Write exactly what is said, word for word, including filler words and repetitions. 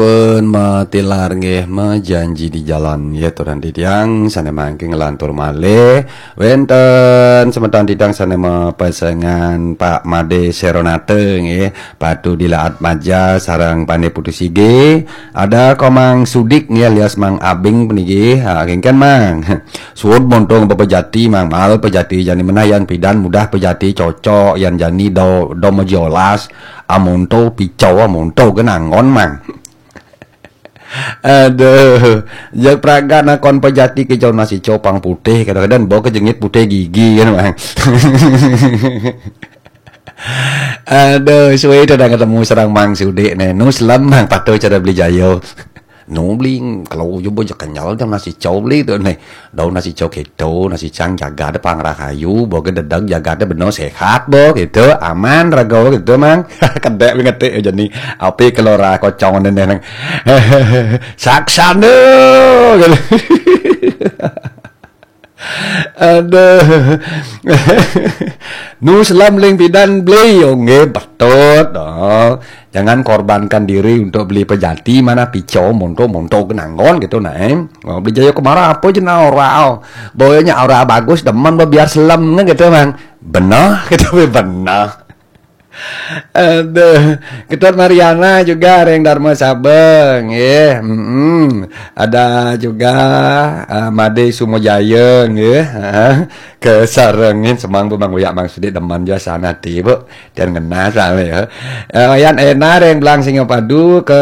Pun matilar nggih, majanji di jalan nggih, turan titiang sane mangke nglantur malih. Wenten semeton titiang sane mapesengan Pak Made Seronate nggih, Patu Dilaat Maja sareng Pande Putu Sige. Ada Komang Sudik nggih alias Mang Abing puniki. Ha, kengken Mang. Suud monto ngapa pejati Mang, mal pejati jani menah yan pidan mudah pejati cocok yan jani do do majolas. Amonto picau amonto genangon Mang. Aduh, jak praga nakon pejati ke jauh nasi copang putih kadang-kadang bawa ke jengit putih gigi kan Mang. Aduh, suwe itu dah ketemu serang Mang Sudik ne. Nu selam Mang patuh cara beli jayo. Nu beli kalau ujuk bojok kenyal jam nasi cau beli tu ne. Daun nasi cau keto, nasi cang jaga de pangrah kayu, bawa ke dedeg jaga de beno sehat bo gitu, aman raga gitu Mang. Kedek beli ngetik aja ni. Api kelora kocong ne neng. Saksan tu. Aduh. Nu selam ling pidan beli, oh, nggih, betul. Oh. Jangan korbankan diri untuk beli pejati mana picau monto monto genanggon gitu nah. Eh. Oh, beli jayo kemara apa je nah ora. Oh. Boyanya ora bagus demen bo biar selam nge gitu Mang. Benar gitu benar. Aduh, Ketut Mariana juga ring Dharma Sabeng, nggih. Mm-mm. Ada juga uh, Made Sumojaya, nggih. Uh, kesarengin semang bu Mang Uyak Mang Sudik demen juga sana ti, Bu. Dan ngena sama ya. Uh, Yan Ena ring Belang Singapadu ke